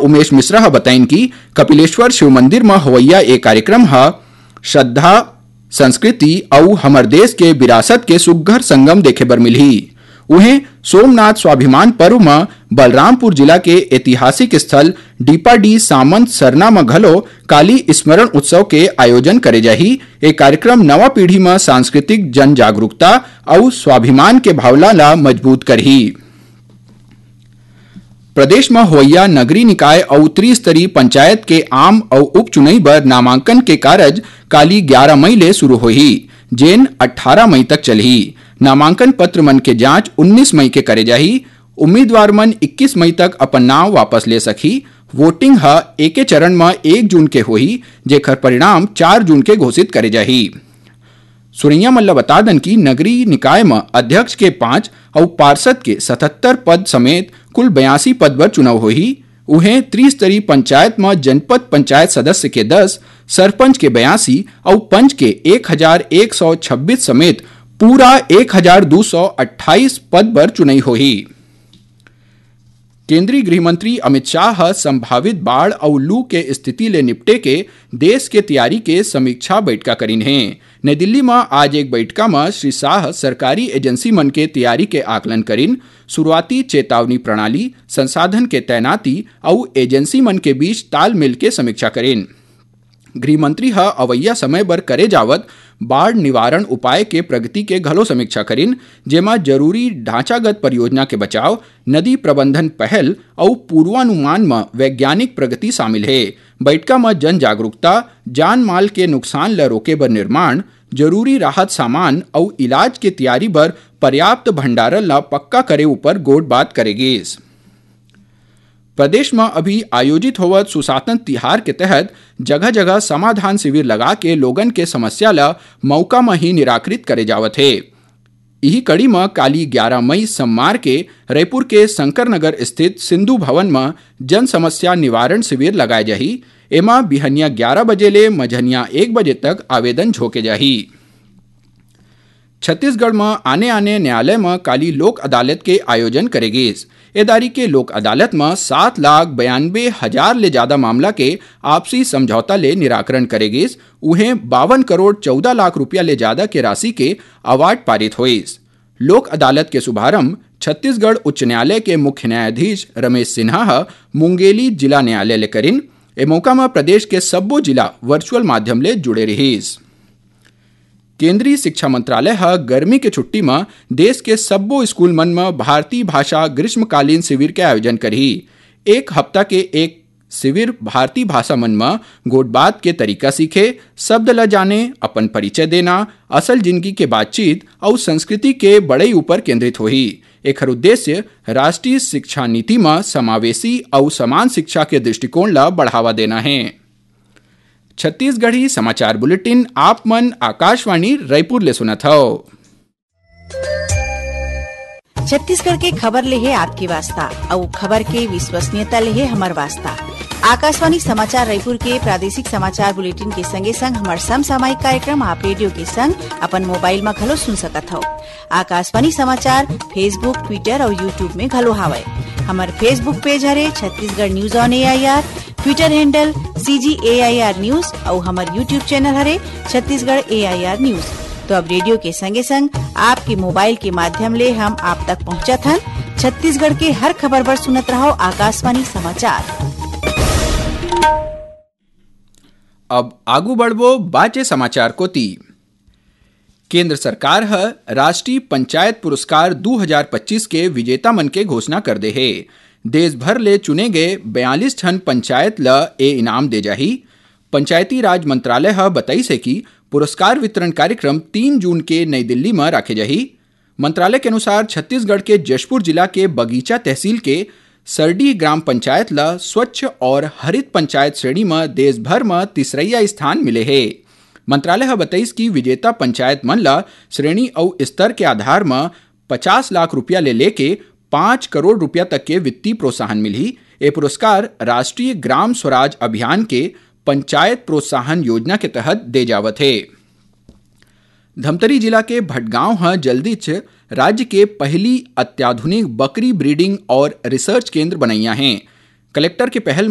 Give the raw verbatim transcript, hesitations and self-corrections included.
उमेश मिश्रा ह बताइन कि कपिलेश्वर शिव मंदिर म होवइया ए कार्यक्रम ह श्रद्धा, संस्कृति अउ हमर देश के विरासत के सुग्घर संगम देखे बर मिलही। उहें, सोमनाथ स्वाभिमान पर्व म बलरामपुर जिला के ऐतिहासिक स्थल डीपाडी सामंत सरना म घलो काली स्मरण उत्सव के आयोजन करे जाही। ए कार्यक्रम नवा पीढ़ी म सांस्कृतिक जन जागरूकता अउ स्वाभिमान के भावना ला मजबूत करही। प्रदेश म होवइया नगरीय निकाय अउ त्रिस्तरीय पंचायत के आम अउ उपचुनई बर नामांकन के कारज काली ग्यारा मई ले शुरू होही, जेन अट्ठारा मई तक चलही। नामांकन पत्र मन के जांच उन्नीस मई के करे जाही। उम्मीदवार मन इक्कीस मई तक अपन नांव वापस ले सकही। वोटिंग ह एके चरण म एक जून के होही, जेकर परिणाम चार जून के घोषित करे जाही। सुनइया मन ल बता दन कि नगरीय निकाय म अध्यक्ष के पांच अउ पार्षद के सतहत्तर पद समेत कुल बयासी पद बर चुनाव होही। उहें, त्रिस्तरीय पंचायत म जनपद पंचायत सदस्य के दस, सरपंच के बयासी अउ पंच के एक हजार एक सौ छब्बीस समेत पूरा एक हजार दू सौ अट्ठाईस पद बर चुनई होही। केंद्रीय गृह मंत्री अमित शाह ह संभावित बाढ़ अउ लू के स्थिति ले निपटे के देश के तैयारी के समीक्षा बैठका करिन हे। नई दिल्ली म आज एक बैठका म श्री शाह सरकारी एजेंसी मन के तैयारी के आकलन करिन, शुरुआती चेतावनी प्रणाली, संसाधन के तैनाती अउ एजेंसी मन के बीच तालमेल के समीक्षा करिन। गृह मंत्री ह अवइया समय बर करे जावत बाढ़ निवारण उपाय के प्रगति के घलो समीक्षा करिन, जेमा जरूरी ढांचागत परियोजना के बचाव, नदी प्रबंधन पहल अउ पूर्वानुमान म वैज्ञानिक प्रगति शामिल हे। बैठका म जन जागरूकता, जान माल के नुकसान ल रोके बर निर्माण, जरूरी राहत सामान अउ इलाज के तैयारी बर पर्याप्त भंडारण ल पक्का करे उपर गोठ बात करे गिस। प्रदेश म अभी आयोजित होवत सुशासन तिहार के तहत जगह-जगह समाधान शिविर लगा के लोगन के समस्या ल मौका म ही निराकृत करे जावत हे। इही कड़ी म काली ग्यारा मई सोमवार के रईपुर के शंकर नगर स्थित सिंधु भवन म जन समस्या निवारण शिविर लगाए जाही। एमा बिहनिया ग्यारा बजे ले मझनिया एक बजे तक आवेदन झोंके जाही। छत्तीसगढ़ म आने-आने न्यायालय म काली लोक अदालत के आयोजन करे गिस। ए दारी के लोक अदालत म सात लाख बयानबे हजार ले जादा मामला के आपसी समझौता ले निराकरण करे गिस। उहें, बावन करोड़ चौदह लाख रुपया ले जादा के राशि के अवार्ड पारित होइस। लोक अदालत के शुभारंभ छत्तीसगढ़ उच्च न्यायालय के मुख्य न्यायाधीश रमेश सिन्हा ह मुंगेली जिला न्यायालय ले करिन। ए मौका म प्रदेश के सब्बो जिला वर्चुअल माध्यम ले जुड़े रिहिस। केंद्रीय शिक्षा मंत्रालय ह गर्मी के छुट्टी म देश के सब्बो स्कूल मन म भारतीय भाषा ग्रीष्मकालीन शिविर के आयोजन करही। एक हफ्ता के एक शिविर भारतीय भाषा मन म गोठ बात के तरीका सीखे, शब्द ल जाने, अपन परिचय देना, असल जिनगी के बातचीत अउ संस्कृति के बड़ई ऊपर केंद्रित होही। एखर उद्देश्य राष्ट्रीय शिक्षा नीति म समावेशी अउ समान शिक्षा के दृष्टिकोण ल बढ़ावा देना हे। छत्तीसगढ़ी समाचार बुलेटिन आप मन आकाशवाणी रायपुर ले सुनत हव। छत्तीसगढ़ के खबर ले हे आपके वास्ता, अउ खबर के विश्वसनीयता ले हे हमर वास्ता। आकाशवाणी समाचार रायपुर के प्रादेशिक समाचार बुलेटिन के संगे संग हमर समसामयिक कार्यक्रम आप रेडियो के संग अपन मोबाइल म घलो सुन सकत हव। आकाशवाणी समाचार Facebook, Twitter अउ YouTube में घलो हावय। हमर Facebook पेज हरे Chhattisgarh news on AIR, Twitter handle CG AIR news अउ हमर YouTube चैनल हरे छत्तीसगढ़ एआईआर न्यूज। तो अब रेडियो के संगे संग आपके मोबाइल के माध्यम ले हम आप तक पहुंचत हन। छत्तीसगढ़ के हर खबर बर सुनत रहव आकाशवाणी समाचार। अब आगू बढ़बो बाचे समाचार कोती। केंद्र सरकार ह राष्ट्रीय पंचायत पुरस्कार दू हजार पच्चीस के विजेता मन के घोषणा कर दे हे। देश भर ले चुने गए बयालीस ठन पंचायत ल ए इनाम दे जाही। पंचायती राज मंत्रालय ह बताइस हे कि पुरस्कार वितरण कार्यक्रम तीन जून के नई दिल्ली म राखे जाही। मंत्रालय के अनुसार, छत्तीसगढ़ के जशपुर जिला के बगीचा तहसील के सरडीह ग्राम पंचायत ल स्वच्छ और हरित पंचायत श्रेणी म देश भर म तीसरइया स्थान मिले हे। मंत्रालय ह बताइस कि विजेता पंचायत मन ल श्रेणी अउ स्तर के आधार म पचास लाख रुपया ले लेके पाँच करोड़ रुपया तक के वित्तीय प्रोत्साहन मिलही। ए पुरस्कार राष्ट्रीय ग्राम स्वराज अभियान के पंचायत प्रोत्साहन योजना के तहत दे जावत हे। धमतरी जिला के भटगांव ह जल्दीच राज्य के पहली अत्याधुनिक बकरी ब्रीडिंग और रिसर्च केंद्र बनइया हे। कलेक्टर के पहल